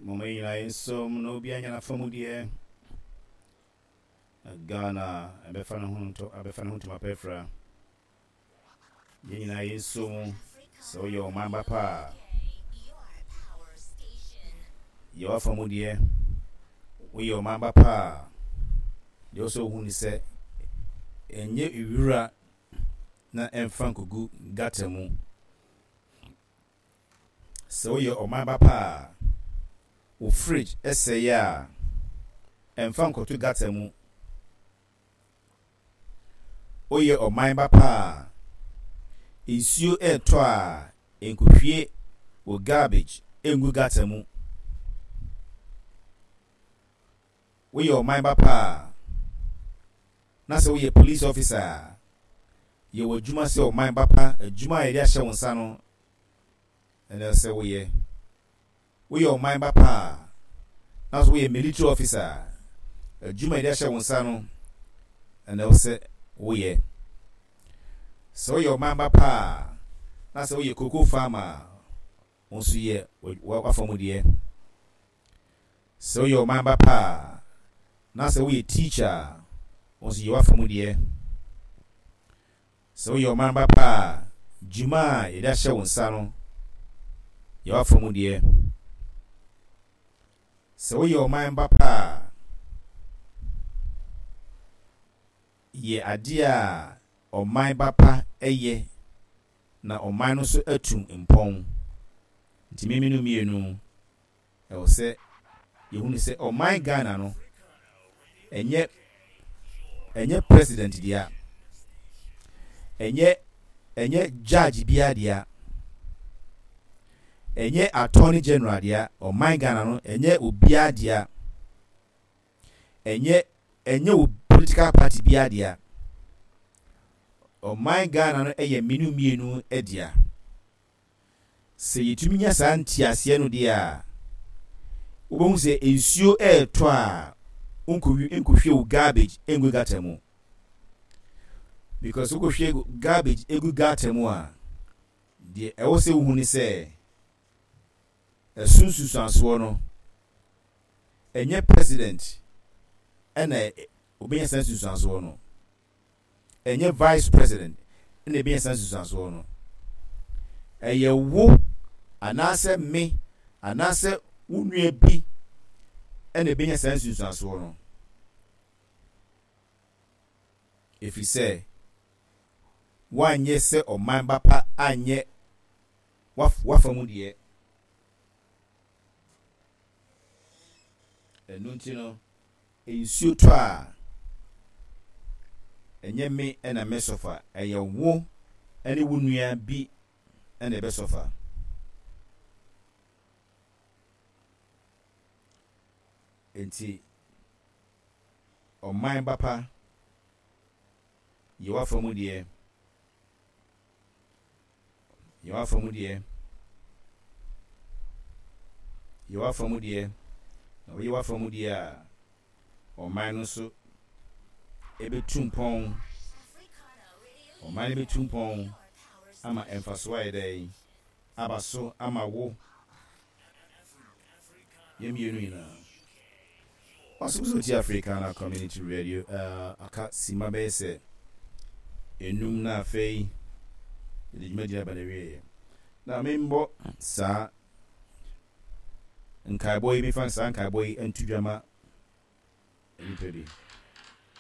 Momma yɛn nyinaa yɛnsom na obiara nya n'afamudeɛ. Na Ghana ɛbɛfa ne ho ntɔ abɛfa ne ho ntoma pa afira. Yɛn nyinaa yɛnsom mu sɛ woyɛ ɔman ba pa a. Yɛ w'afamudeɛ. Woyɛ ɔman ba pa a, deɛ ɛwɔ sɛ wohu ne sɛ ɛnyɛ wira na ɛmfa nkɔgu gutter mu. Sɛ woyɛ ɔman ba pa a, wo fridge sɛe a, ɛmfa nkɔto gutter mu. Woyɛ ɔman ba pa a, nsuo retɔ a, nkɔhwie wo garbage ngu gutter mu. Woyɛ ɔman ba pa a, na sɛ woyɛ police officer a, yɛ w'adwuma sɛ ɔman ba pa, adwuma a yɛde ahyɛ wo nsa no na ɛsɛ sɛ woyɛ. Woyɛ ɔman ba pa a, na sɛ woyɛ military officer a, adwuma a yɛde ahyɛ wo nsa no na ɛwɔ sɛ woyɛ. Sɛ woyɛ ɔman ba pa a, na sɛ woyɛ cocoa farmer a, Wo nso yɛ w'afamudeɛ. Sɛ woyɛ ɔman ba pa a, na sɛ woyɛ teacher a, wo nso yɛ w'afamudeɛ. Sɛ woyɛ ɔman ba pa a, dwuma a yɛde ahyɛ wo nsa no, yɛ w'afamudeɛ. Sɛ woyɛ ɔman ba pa a, yɛ adeɛ a ɔman ba pa yɛ na ɔman no nso atu mpɔn. Nti me mene mmienu ɛwɔ sɛ yɛhunu sɛ ɔman Ghana no ɛnyɛ ɛnyɛ president dea, ɛnyɛ ɛnyɛ judge biara dea, ɛnyɛ attorney general dea, ɔman Ghana no ɛnyɛ obiara dea. Ɛnyɛ ɛnyɛ wo political party biara dea. Ɔman Ghana no yɛ mmienu mmienu dea. Sɛ yɛtumi nya saa nteaseɛ no deɛ a, wobɛhu sɛ nsuo ɛretɔ a wonkɔhwie wo garbage ngu gutter mu. Because wokɔhwie garbage gu gutter mu a, deɛ ɛwɔ sɛ wohu ne sɛ ɛso nsusuansoɔ no, ɛnyɛ president ɛna obenya saa nsunsuansoɔ no. Ɛnyɛ vice president ɛna ebenya saa nsunsuansoɔ no. Ɛyɛ wo anaasɛ me anaasɛ wo nua bi ɛna ebenya saa nsunsuansoɔ no. Ɛfiri sɛ woanyɛ sɛ ɔman ba pa anyɛ w'afa mu deɛ. Ɛno nti no, nsuo tɔ a, ɛnyɛ me na mɛsɔfa, ɛyɛ wo ne wo nua bi na ɛbɛsɔfa. Enti, ɔman ba pa, yɛ w'afa mu deɛ. Yɛ w'afa mu deɛ. Yɛ w'afa mu deɛ. Na woyɛ w'afa mu deɛ a, ɔman no nso ɛbɛtu mpɔn. Ɔman no bɛtu mpɔn ama mfasoɔ ayɛ dɛn? Aba so ama wo. Yɛn mmienu nyinaa. Waso so ti Africana Community Radio uh, aka sima bɛyɛ sɛ enum na afei yɛde dwumadi aba n'awieɛ. Na membɔ saa nkaebɔ yi mefa saa nkaebɔ yi nto dwa ma nnipa bi.